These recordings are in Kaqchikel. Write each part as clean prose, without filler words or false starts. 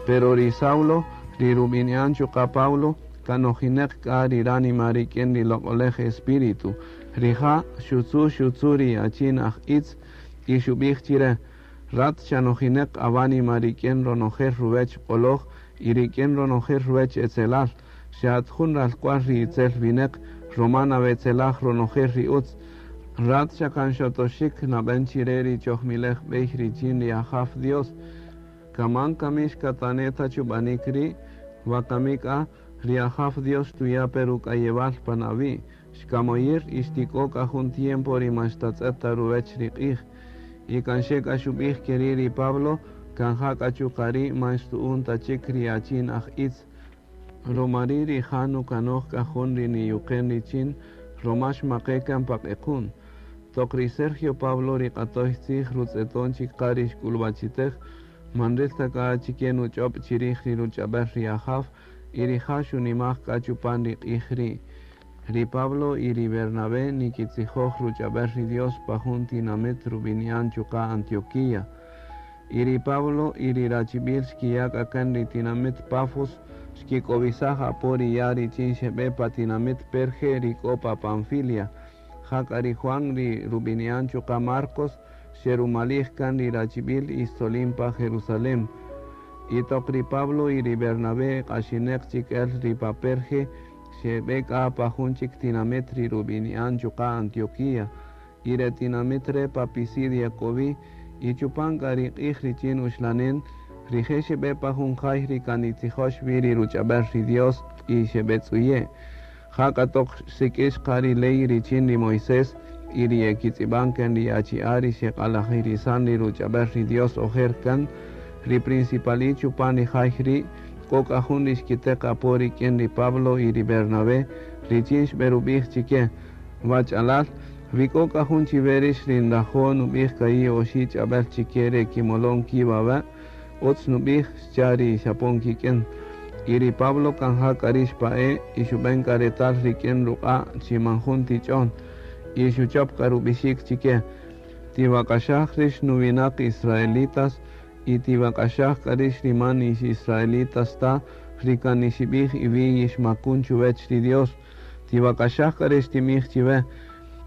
Pero ri Saulo, ri rub'ini'an chuqa' Pablo, kan nojineq k'a ri ránima rik'in ri Loq'olej Espíritu. Rija' xutzu' xutzu' ri achin aj itz y xub'ij chire: Rat xa nojineq awánima rik'in ronojel ruwech q'oloj y rik'in ronojel ruwech etzelal. Xa at jun ralk'wal ri itzel wineq, roma nawetzelaj ronojel ri utz. Rat xa kan xotoxik nab'en chire ri chojmilej b'ey richin ri Ajaw Dios. Kaman kami xkatane' ta chub'anik ri', wakami k'a ri Ajaw Dios xtuya' pe ruk'ayewal pan awi'. Xkamoyir y xtik'o k'a jun tiempo ri man xtatz'et ta ruwech ri q'ij. Y kan xe k'a xub'ij keri' ri Pablo, kan ja k'a chuqa' ri' man xtu'un ta chik ri achin aj itz. Roma ri' rija' nukanoj k'a jun ri niyuqen richin, roma xmaqe' kan pa q'equn. Toq ri Sergio Pablo ri q'atoy tzij rutz'eton chik qa ri xk'ulwachitej, man nril ta k'a achike nuch'ob' chirij ri ruch'ab'el ri Ajaw, y rija' xunimaj k'a chupan ri q'ij ri'. Ri Pablo y ri Bernabé nikitzijoj ruch'ab'el ri Dios pa jun tinamit rub'ini'an chuqa' Antioquía. Y ri Pablo y ri rachib'il xkiya' k'a kan ri tinamit Pafos, xkik'owisaj apo ri ya' richin xeb'e pa tinamit Perge ri k'o pa Panfilia. Jak'a ri Juan ri rub'ini'an chuqa' Marcos xerumalij kan ri rachib'il y xtzolin pa Jerusalén. Y toq ri Pablo y ri Bernabé q'axineq chik el ri pa Perge, xeb'e k'a pa jun chik tinamit ri rub'ini'an chuqa' Antioquía. Y re tinamit re' pa Pisidia k'o wi, y chupan k'a ri q'ij richin uxlanen, rije' xeb'e pa jun jay ri kan nitzijox wi ri ruch'ab'el ri Dios y xeb'etz'uye'. Jak'a toq xsik'ix qa ri ley richin ri Moisés y ri yekitz'ib'an kan ri achi'a' ri xeq'alajirisan ri ruch'ab'el ri Dios ojer kan, ri principali' chupan ri jay ri' k'o k'a jun ri xkiteq apo rik'in ri Pablo y ri Bernabé richin xb'erub'ij chike: Wach'alal, wi k'o k'a jun chiwe rix ri nrajo' nub'ij ka'i' oxi' ch'ab'el chike re kimolon ki' wawe', utz nub'ij, xcha' ri xapon kik'in. Y ri Pablo kan ja k'a ri' xpa'e' y xub'en k'a retal rik'in ruq'a' chi man jun tich'on, y xuchop k'a rub'ixik chike: Tiwak'axaj rix nuwinaq israelitas y tiwak'axaj k'a rix ri man ix israelitas ta, ri kan nixib'ij iwi' yixmakun chuwech ri Dios. Tiwak'axaj k'a ri xtinb'ij chiwe,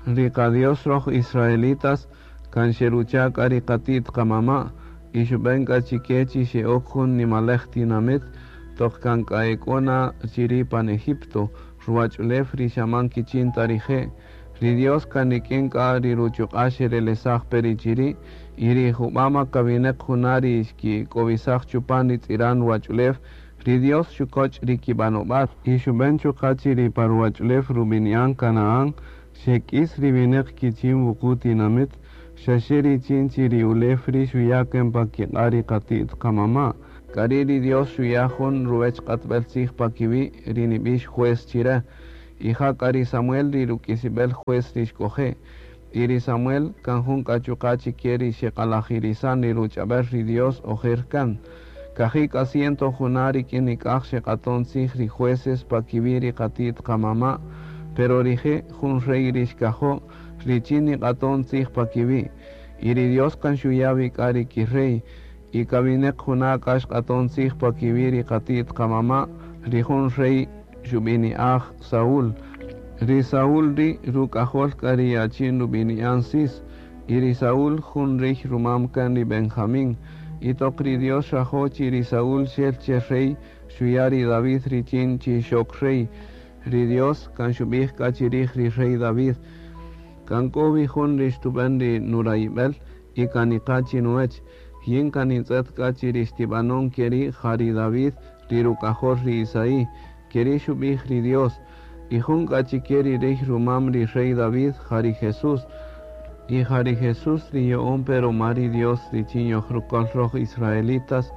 Ri qa-Dios roj israelitas kan xerucha' k'a ri qati't qamama' y xub'en k'a chike chi xe'ok jun nimalej tinamit toq kan k'a ek'o na chiri' pan Egipto, ruwach'ulew ri xa man kichin ta rije'. Ri Dios kan rik'in k'a ri ruchuq'a' xerelesaj pe ri chiri', y ri jub'ama kawineq juna' ri xkik'owisaj chupan ri tz'iran ruwach'ulew, ri Dios xukoch' ri kib'anob'al. Y xub'en chuqa' chi ri pa ruwach'ulew rub'ini'an Canaán xek'is ri wineq kichin wuqu' tinamit, xaxe richin chi ri ulew ri' xuya' kan pa kiq'a' ri qati't qamama'. K'ari' ri Dios xuya' jun ruwech q'atb'el tzij pa kiwi' ri nib'ix juez chire. Y ja k'a ri Samuel ri ruk'isib'el juez ri xk'oje'. Y ri Samuel kan jun k'a chuqa' chike ri xeq'alajirisan ri ruch'ab'el ri Dios ojer kan. Kaji' k'a ciento juna' rik'in nik'aj xeq'aton tzij ri jueces pa kiwi' ri qati't qamama', pero rije' jun rey ri xkajo' richin niq'aton tzij pa kiwi'. Y ri Dios kan xuya' wi k'a ri ki-rey. Y kawineq juna' k'a xq'aton tzij pa kiwi' ri qati't qamama', ri jun rey xub'ini'aj Saúl. Ri Saúl ri' ruk'ajol k'a ri achin rub'ini'an Cis, y ri Saúl jun rey rumam kan ri Benjamín. Y toq ri Dios xrajo' chi ri Saúl xel che rey, xuya' ri David richin chi xok rey. Ri Dios kan xub'ij k'a chirij ri rey David, Kan k'o wi jun ri xtub'en ri nurayib'el y kan niqa' chinuwech. Yin kan nintz'et k'a chi ri xtib'anon keri' ja ri David, ri ruk'ajol ri Isaí. Keri' xub'ij ri Dios. Y jun k'a chike ri rey rumam ri rey David ja ri Jesús. Y ja ri Jesús ri yo'on pe roma ri Dios richin yojrukol roj israelitas,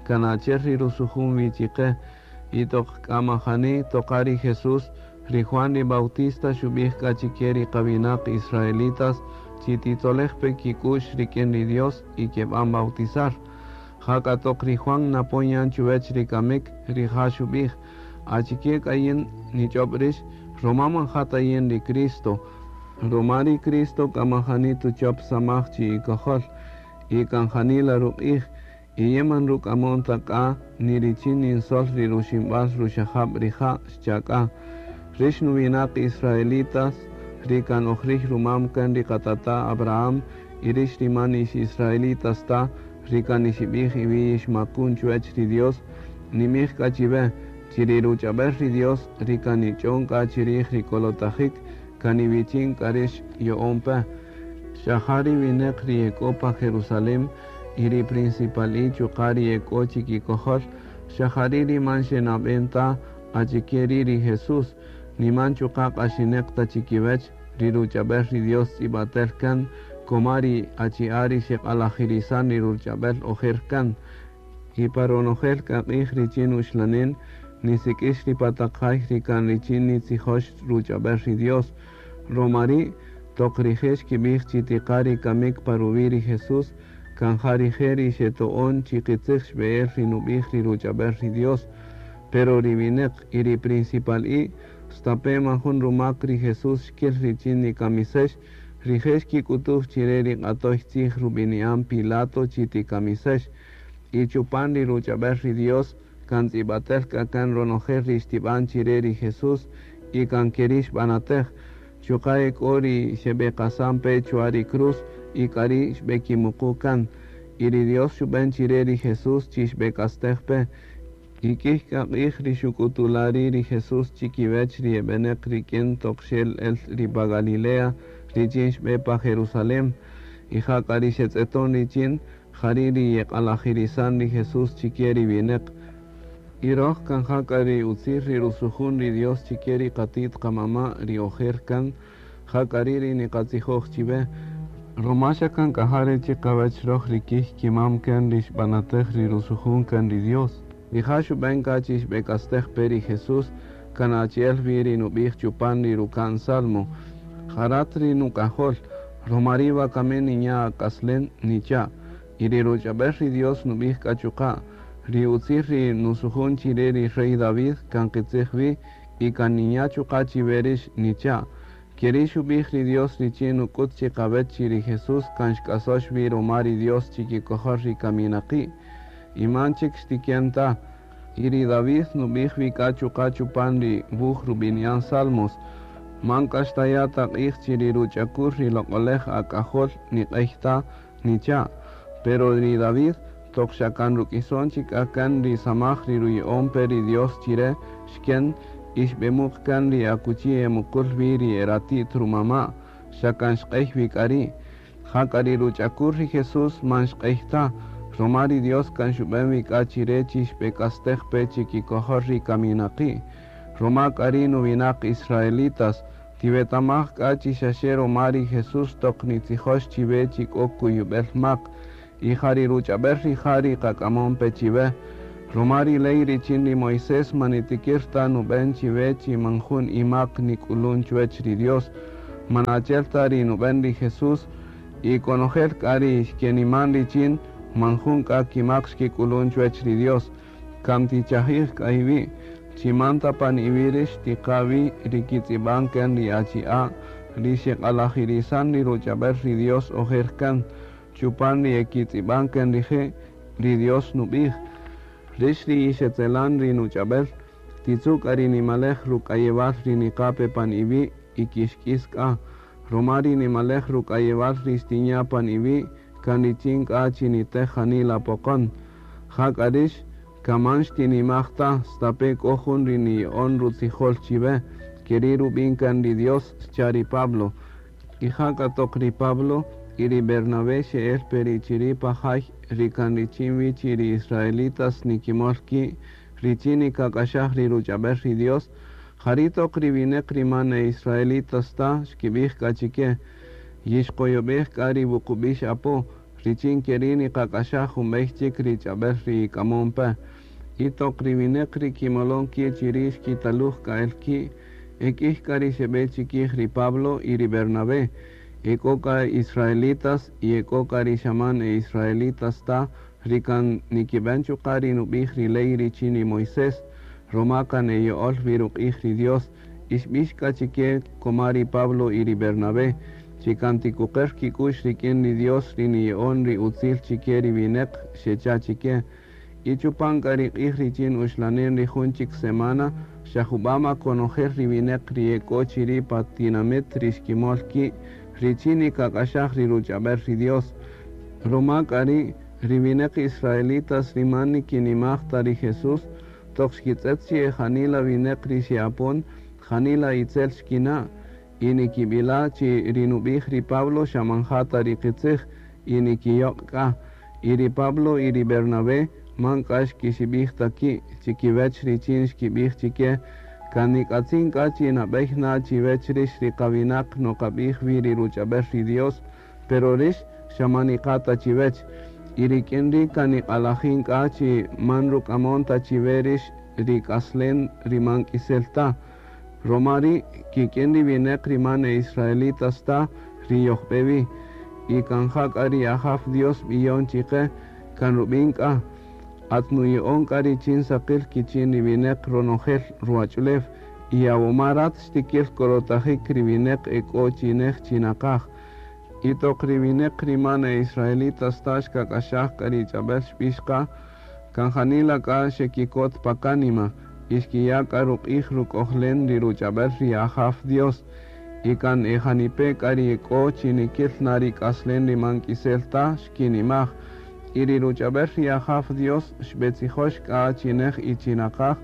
kan achi'el ri rusujun wi chiqe. Y toq k'a majani toqa ri Jesús, ri Juan ri Bautista xub'ij k'a chike ri qawinaq israelitas chi titzolej pe kik'u'x rik'in ri Dios y keb'an bautizar. Jak'a toq ri Juan napon yan chuwech ri kamik, rija' xub'ij, Achike k'a yin nich'ob' rix? Roma man ja ta yin ri Cristo. Roma ri Cristo k'a man jani tuchop samaj chi'ikojol, y kan janila ruq'ij. Y yin man ruk'amon ta k'a ni richin ninsol ri ruximb'al ruxajab' rija', xcha' k'a. Rix nuwinaq israelitas, ri kan oj riy rumam kan ri qatata' Abraham, y rix ri man ix israelitas ta, ri kan nixib'ij iwi' yixmakun chuwech ri Dios, nimij k'a chiwe, chi ri ruch'ab'el ri Dios, ri kan nich'on k'a chirij ri kolotajik, kan iwichin k'a rix yo'on pe. Xa ja ri wineq ri ek'o pa Jerusalén y ri principal'i chuqa' ri ek'o chikikojol, xa jari' ri man xenab'en ta achike ri' ri Jesús, niman chuqa' q'axineq ta chikiwech ri ruch'ab'el ri Dios tz'ib'atel kan koma ri achi'a' ri xeq'alajirisan ri ruch'ab'el ojer kan. Y pa ronojel k'a q'ij richin uxlanen, nisik'ix ri pa taq jay ri kan richin nitzijox ruch'ab'el ri Dios. Romari' toq rije' xkib'ij chi tiqa ri kamik pa ruwi' ri Jesús, kan ja rije' ri xeto'on chi qitzij xb'e'el ri nub'ij ri ruch'ab'el ri Dios. Pero ri wineq y ri principal'i, stape' man jun rumak ri Jesús xkil richin nikamisex, rije' xkik'utuj chire ri q'atoy tzij rub'ini'an Pilato chi tikamisex. Y chupan ri ruch'ab'el ri Dios, kan tz'ib'atel k'a kan ronojel ri xtib'an chire ri Jesús y kan keri' xb'anatej. Chuqa' ek'o ri xeb'eqasan pe chwa ri cruz y k'ari' xb'ekimuqu kan. Y ri Dios xub'en chire ri Jesús chi xb'ek'astej pe. Y k'ij k'a q'ij ri xuk'utula' ri' ri Jesús chikiwech ri eb'eneq rik'in toq xel el ri pa Galilea richin xb'e pa Jerusalén. Y ja k'a ri xetz'eton richin, jari' ri yeq'alajirisan ri Jesús chike ri wineq. Y roj kan ja k'a ri utzil ri rusujun ri Dios chike ri qatit qamama' ri ojer kan, ja k'a ri' ri niqatzijoj chiwe. Roma xa kan k'a ja re' chiqawech roj ri kij kimam kan ri xb'anatej ri rusujun kan ri Dios. Rija' xub'en k'a chi xb'ek'astej pe ri Jesús, kan achi'el wi ri nub'ij chupan ri ruka'n Salmo. Ja rat ri nuk'ajol, roma ri' wakami ninya' ak'aslen, nicha'. Y ri ruch'ab'el ri Dios nub'ij k'a chuqa', ri utzil ri nusujun chire ri rey David kan qitzij wi y kan ninya' chuqa' chiwe rix, nicha'. Keri' xub'ij ri Dios richin nuk'ut chiqawech chi ri Jesús kan xk'asox wi roma ri Dios chikikojol ri kaminaqi'. Y man chik xtiken ta. Y ri David nub'ij wi k'a chuqa' chupan ri wuj rub'ini'an Salmos. Man k'a xtaya' ta q'ij chi ri ruch'akul ri loq'olej ak'ajol niq'ey ta, nicha'. Pero ri David toq xa kan ruk'ison chik k'a kan ri samaj ri ruya'on pe ri Dios chire xken y xb'emuq kan ri akuchi emuqul wi ri erati't rumama', xa kan xq'ey wi k'a ri'. Ja k'a ri ruch'akul ri Jesús man xq'ey ta, roma ri Dios kan xub'en wi k'a chire chi xb'ek'astej pe chikikojol ri kaminaqi'. Roma k'a ri' nuwinaq israelitas, tiwetamaj k'a chi xaxe roma ri Jesús toq nitzijox chiwe chi k'o kuyub'el mak, y ja ri ruch'ab'el rija' ri qak'amon pe chiwe. Roma ri ley richin ri Moisés man nitikir ta nub'en chiwe chi man jun imak nik'ulun chuwech ri Dios. Man achi'el ta ri nub'en ri Jesús, y konojel k'a ri xkeniman richin, man jun k'a kimak xkik'ulun chuwech ri Dios. Kan tichajij k'a iwi', chi man ta pan iwi' rix tiqa wi ri kitz'ib'an kan ri achi'a', ri xeq'alajirisan ri ruch'ab'el ri Dios ojer kan, chupan ri ekitz'ib'an kan rije', ri Dios nub'ij. Rix ri ixetzelan ri nuch'ab'el, titzu' k'a ri nimalej ruk'ayewal ri niqa pe pan iwi' y kixk'is k'a. Roma ri nimalej ruk'ayewal ri xtinya' pan iwi' kan richin k'a chi nitej janila poqon. Ja k'a rix kan man xtinimaj ta, stape' k'o jun ri niya'on rutzijol chiwe, keri' rub'in kan ri Dios, xcha' ri Pablo. Y ja k'a toq ri Pablo y ri Bernabé xe'el pe ri chiri' pa jay ri kan richin wi chi ri israelitas nikimol ki' richin nikak'axaj ri ruch'ab'el ri Dios, jari' toq ri wineq ri man e israelitas ta xkib'ij k'a chike, yixqoyob'ej k'a ri wuqub'ix apo, richin keri' niqak'axaj jun b'ey chik ri ch'ab'el ri ik'amon pe. Y toq ri wineq ri kimolon ki' chiri' xkitaluj k'a el ki', ek'ij k'a ri xeb'e chikij ri Pablo y ri Bernabé. Ek'o k'a israelitas y ek'o k'a ri xa man e israelitas ta, ri kan nikib'en chuqa' ri nub'ij ri ley richin ri Moisés, roma kan eya'ol wi ruq'ij ri Dios, y xb'ix k'a chike koma ri Pablo y ri Bernabé. chi kan tikuqer kik'u'x rik'in ri Dios ri niya'on ri utzil chike ri wineq, xecha' chike. Y chupan k'a ri q'ij richin uxlanen ri jun chik semana, xa jub'ama konojel ri wineq ri e k'o chiri' pa tinamit ri xkimol ki' richin nikak'axaj ri ruch'ab'el ri Dios. Ruma k'a ri' ri wineq israelitas ri man nikinimaj ta ri Jesús, toq xkitz'et chi e janila wineq ri xe'apon, janila itzel xkina', y nikib'ila' chi ri nub'ij ri Pablo xa man ja ta ri qitzij, y nikiyoq' k'a. Y ri Pablo y ri Bernabé man k'a xkixib'ij ta ki' chikiwech richin xkib'ij chike, kan nik'atzin k'a chi nab'ey na chiwech rix ri qawinaq noqab'ij wi ri ruch'ab'el ri Dios, pero rix xa man niqa' ta chiwech. Y rik'in ri' kan niq'alajin k'a chi man ruk'amon ta chiwe rix ri k'aslen ri man k'isel ta. Ruma ri' kik'in ri wineq ri man e israelitas ta ri yojb'e wi. Y kan ja k'a ri Ajaw Dios b'iyon chike kan rub'in k'a. At nuya'on k'a richin saqil kichin ri wineq ronojel ruwach'ulew y awuma rat xtikil korotajik ri wineq e k'o chi nej chi naqaj. Y toq ri wineq ri man e israelitas ta xkak'axaj k'a ri ch'ab'el xb'ix qa, kan janila k'a xekikot pa kánima y xkiya' k'a ruq'ij ruk'ojlen ri ruch'ab'el ri Ajaw Dios. Y kan e janipe' k'a ri k'o chi nikil na ri k'aslen ri man k'isel ta xkinimaj. Y ri ruch'ab'el ri Ajaw Dios xb'etzijox k'a chi nej y chi naqaj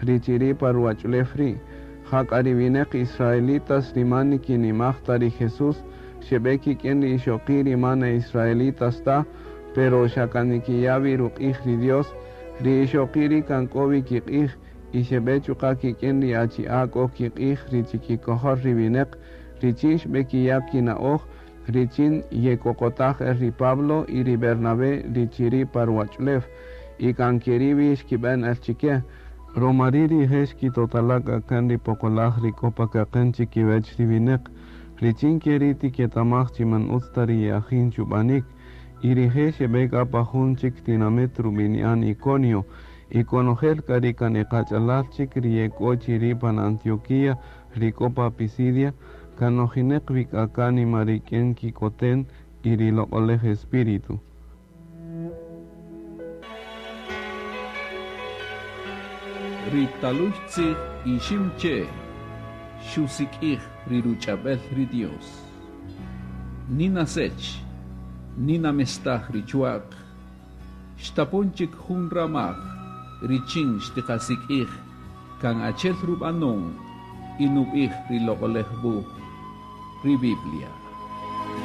ri chiri' pa ruwach'ulew ri'. Ja k'a ri wineq israelitas ri man nikinimaj ta ri Jesús, xeb'e kik'in ri ixoqi' ri man e israelitas ta, pero xa kan nikiya' wi ruq'ij ri Dios, ri ixoqi' ri' kan k'o wi kiq'ij, y xeb'e chuqa' kik'in ri achi'a' k'o kiq'ij ri chikikojol ri wineq, richin xb'ekiya' kina'oj, richin yekoqotaj el ri Pablo y ri Bernabé ri chiri' pa ruwach'ulew, y kan keri' wi xkib'en el chike. Ruma ri' rije' xkitotala' k'a kan ri poqolaj ri k'o pa kaqen chikiwech ri wineq, richin keri' tiketamaj chi man utz ta ri ye'ajin chub'anik. Y rije' xeb'e k'a pa jun chik tinamit rub'ini'an Iconio, y konojel k'a ri kan e qach'alal chik ri ye k'o chiri' pan Antioquía ri k'o pa Pisidia, kan nojineq wi k'a kánima rik'in kikoten y ri Loq'olej Espíritu. Ri taluy tzij Iximche' xusik'ij ri ruch'ab'el ri Dios. Nina sech, nina mestaj ri chwa'q, xtapon chik jun ramaj richin xtiqasik'ij kan achel rub'anon y nub'ij ri Loq'olej Wuj, ri Biblia.